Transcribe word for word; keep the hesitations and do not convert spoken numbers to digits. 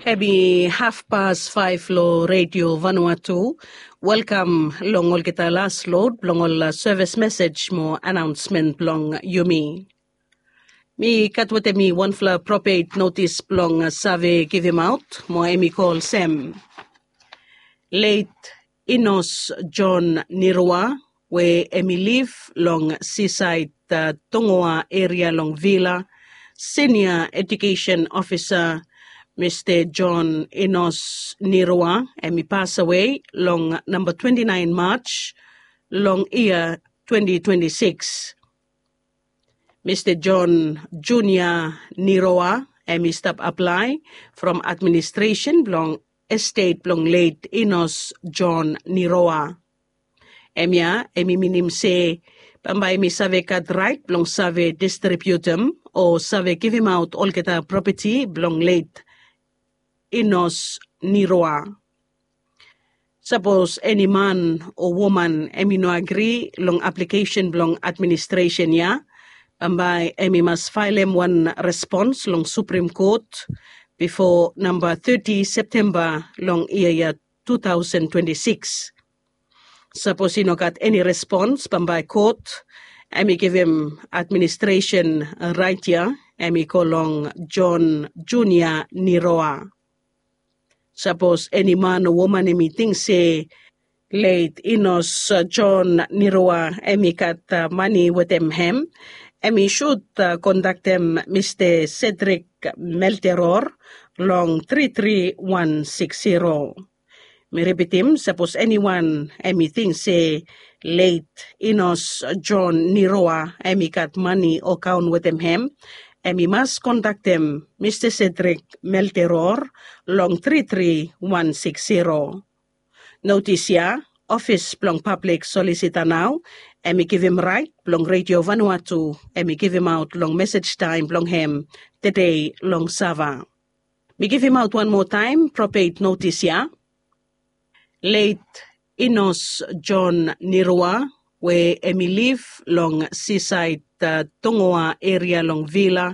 Em i hafpas faef long Redio Vanuatu. Welkam long olgeta las lod blong ol sevis mesej mo anaonsmen blong yumi. Mi gat wetem mi wanfala propet notis blong save givimaot mo em i go olsem. Leit Inos John Nirua we em i liv long sisaed Tongoa eria long Vila, sinia ejukesen ofisa Mista John Inos Nirua em i pasawe long namba twenti naen Maj long yia twenti twenti sikis. Mista John Junia Niroa em i stap aplae from administresen blong estet blong leit Inos John Niroa. Em ya em i minim se bambae mi save gat raet blong save distribiutim o save givimaot olgeta propeti blong leit Inos Niroa. Sapos eni man o woman em i no agri long aplikesen blong administresen ya, bambae em i mas faelem wan respons long Suprim Kot bifo namba teti Septemba long yia ya tu taosen twenti sikis. Sapos i no gat eni respons bambae kot em i givim administresen raet ya em i go long John Junia Niroa. Sapos eni man o woman em i ting se leit Inos John Niroa em i gat mani wetem hem, em i sud kondaktem Mista Cedric Melteror long tri tri wan sikis zero. Mi ripitim, sapos eniwan em i ting se leit Inos John Niroa em i gat mani o kaon wetem hem, em i mas kondaktem Mista Cedric Melteror long tri tri wan sikis zero. Notis ya, ofis blong pablik solisita nao em i givim raet blong Redio Vanuatu em i givimaot long mesej taem blong hem tede long Sava. Mi givimaot wan moa taem propet notis ya. Leit Inos John Niroa we em i liv long sisaed Tongoa eria long Vila,